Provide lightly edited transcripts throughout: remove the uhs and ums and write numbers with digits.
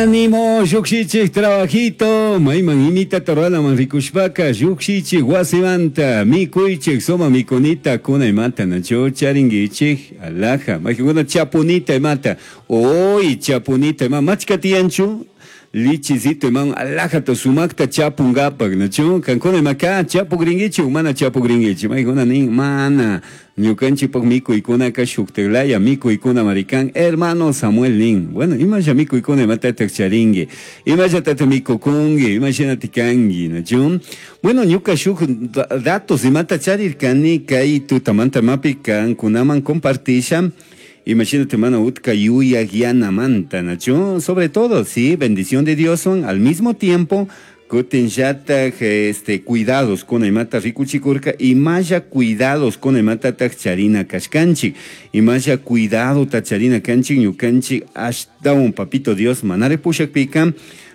Ánimo, llukshichik trabajito, mayman imitata ruranaman rikushpaka llukshichik wasimanta mikuychik suma mikunita kuna imata nachu charinkichik alhaja maykankuna chapunita imata uy chapunita ima machka tiyanchu lichizito imawan alhajata sumakta chapunkapak nachu kankuna imaka chapukrinkichik mana chapukrinkichik maykuna nin mana ñukanchikpak mikuykunaka shuktiklaya mikuykunamari kan hermano Samuel nin bueno imalla mikuykuna imatatak charinki imallatatak mikukunki imashinatik kanki nachu bueno ñuka shuk datos imata charirkani kay tutamanta imapi kankunaman compartisha Imagínate, mana utka yuyak yanamanta, nachu sobre todo, sí, bendición de Dios son al mismo tiempo kutinllatak este, cuidados con imata rikuchikurka imalla cuidados con imatataq charina kashkanchik imalla cuidado ta charina kanchik ñukanchik ashtawan papito Dios manare pushakpika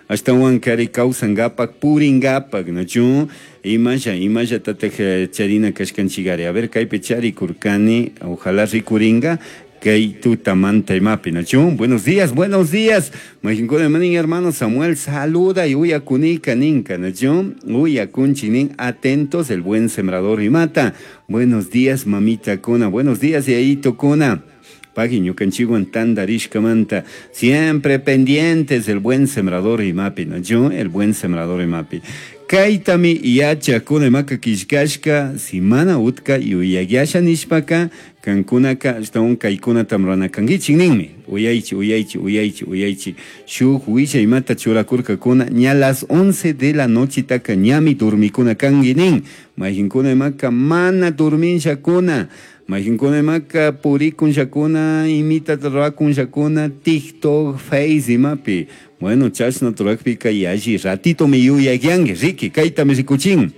ashtawan kari kawsankapak purinkapak nachu imalla imallatataq charina kashkanchikari a ver kaypi charikurkani ojalá rikurinka kay tutamanta imapi nachu buenos días buenos días majinkuna manin hermano Samuel saluda y uyakunika ninka nachu uyakunchik nin atentos el buen sembrador imata buenos días mamita kuna buenos días yayito kuna pagui ñukanchikwan tantarishkamanta siempre pendientes el buen sembrador imapi nachu el buen sembrador imapi kaytami yachakuna imaka killkashka si mana utka yuyakyasha nishpaka kankunaka ashtawan kaykunata rurana kankichik ninmi uyaychik uyaychik uyaychik uyaychik shuk willay imata churakurkakuna ña las 11 de la nochitaka ñami dormikuna kanki nin mayqinkuna imaka mana dorminllakuna mayqinkuna imaka purikunllakuna imitata rurakunllakuna TikTok, Face imapi bueno chashna rurakpika yalli ratitomi yuyakyanki riki kaytami rikuchin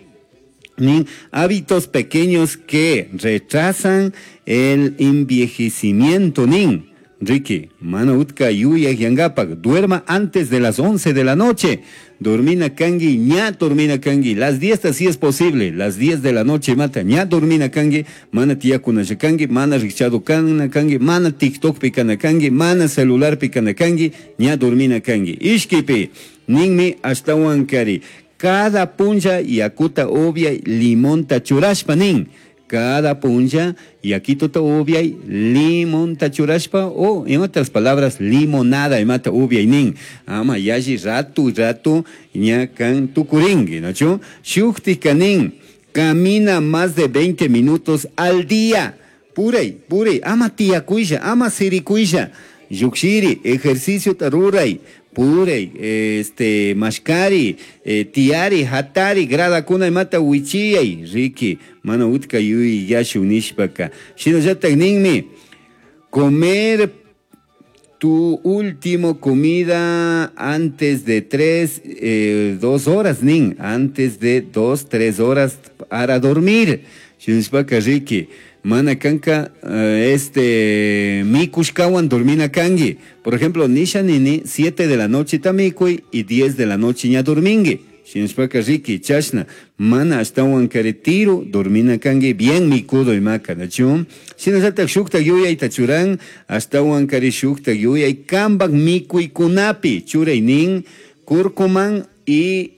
nin hábitos pequeños que retrasan el envejecimiento nin Ricky, mana utka yuyakyankapak duerma antes de las 11 de la noche dormina kanki ña dormina kanki las 10 si es posible las 10 de la noche mata ña dormina kanki mana tiyakunalla kanki mana rikchado kana kanki mana TikTokpi kana kanki mana celularpi kana kanki ña dormina kanki ishkipi ninmi ashtawan kari cada punlla yakuta upyay limonta churashpa nin cada punlla yakituta upyay limonta churashpa o en otras palabras limonada imata upyay nin ama yalli ratu ratu ña kan tukurinki nachu shuktika nin camina más de 20 minutos al día puray puray ama tiyakuylla ama sirikuylla llukshiri ejerciciota ruray puray este mashkari tiyari hatari gradakuna imata wichiyay riki mana utka yuyashun nishpaka shinallatak ninmi comer tu último comida antes de 3, 2 horas nin antes de 2, 3 horas para dormir shinashpaka riki mana kanka este mikushkawan dormina kanki por ejemplo nisha nini 7 de la noche ta mikuy y 10 de la noche ña dorminki shinashpaka riki chashna mana ashtawan kari tiro dormina kanki bien mikudo imaka nachu shinallatak shuktak yuyayta churan ashtawan kari shuktak yuyay kampak mikuykunapi churay nin kurkuman y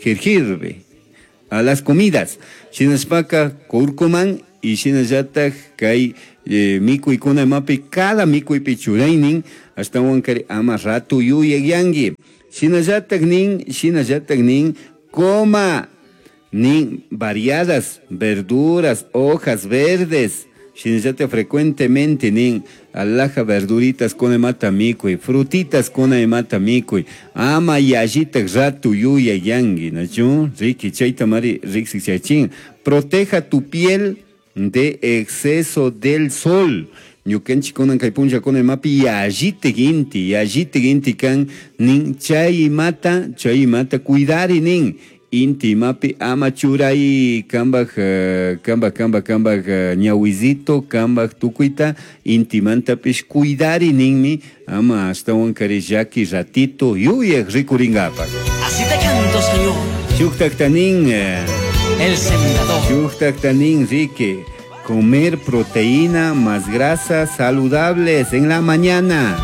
jengibre a las comidas shinashpaka kurkuman y shinallatak kay mikuykuna imapi cada mikuypi churaynin ashtawan kari ama ratu yuyakyanki shinallatak nin coma nin variadas verduras hojas verdes shinallatak frecuentemente nin alhaja verduritas kuna imata mikuy frutitas kuna imata mikuy ama yallitak ratu yuyakyanki nachu riki chayta mari riksichachin proteja tu piel de exceso del sol ñukanchik kunan kay punllakuna imapi yallitik inti yallitik inti kan nin chay imata cuidari nin inti imapi ama churay kambaj kambaj ñawizito kambaj tukuyta intimantapish cuidari ninmi ama ashtawan kari llaki ratito yuyak rikurinkapak. Así te canto, Señor. Shuktakta nin El sembrador. Shuktakta nin riki. Comer proteína más grasas saludables en la mañana.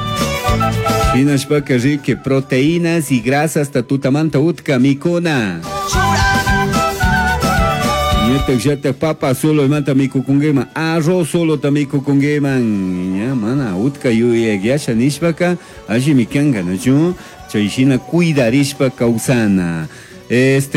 Shinashpaka riki proteínas y grasas tutamanta utka mikuna. Ñatak llatak papa solo imanta mikukunkiman, arroz solo ta mikukunkiman. Ña mana utka yuyakyasha nishpaka allimi kanka, nachu? Chay shina cuidarishpa kawsana.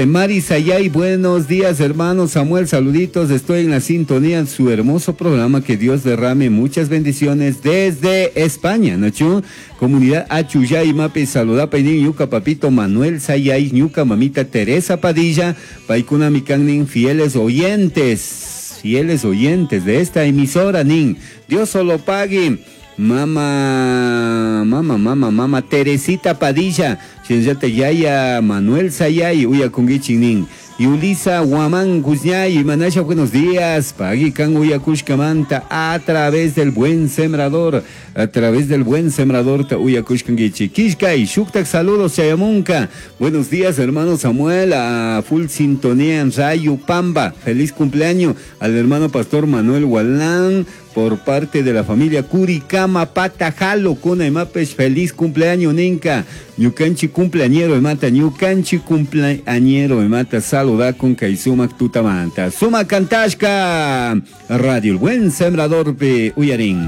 Mari Sayay, buenos días, hermano Samuel, saluditos, estoy en la sintonía de su hermoso programa, que Dios derrame muchas bendiciones desde España, ¿no, chu? Comunidad Achuyay, Mapi, saludapa, y ñuca papito Manuel Sayay, ñuca mamita Teresa Padilla, paikuna mikannin, fieles oyentes, fieles oyentes de esta emisora, nin, Dios solo pague. Mama, mama, mama, mama Teresita Padilla, Shinllata Yaya Manuel Sayay, uya kungichinin. Yulisa Guamán Guzñay, Manasha, buenos días. Pagui kan uya kushkamanta a través del buen sembrador, a través del buen sembrador ta uya kushkangichi. Kishkay, shuktak saludos chayamunka. Buenos días, hermano Samuel, a full sintonía en Rayo Pamba. Feliz cumpleaños al hermano pastor Manuel Gualán por parte de la familia Curicama Patajalo, Cuna y Mapes, feliz cumpleaños, Ninka. Ñukanchi cumpleañero, mata, ñukanchi cumpleañero, mata, saluda con Kaisumak Tutamanta. Suma Kantashka, Radio El Buen Sembrador, pe Uyarín.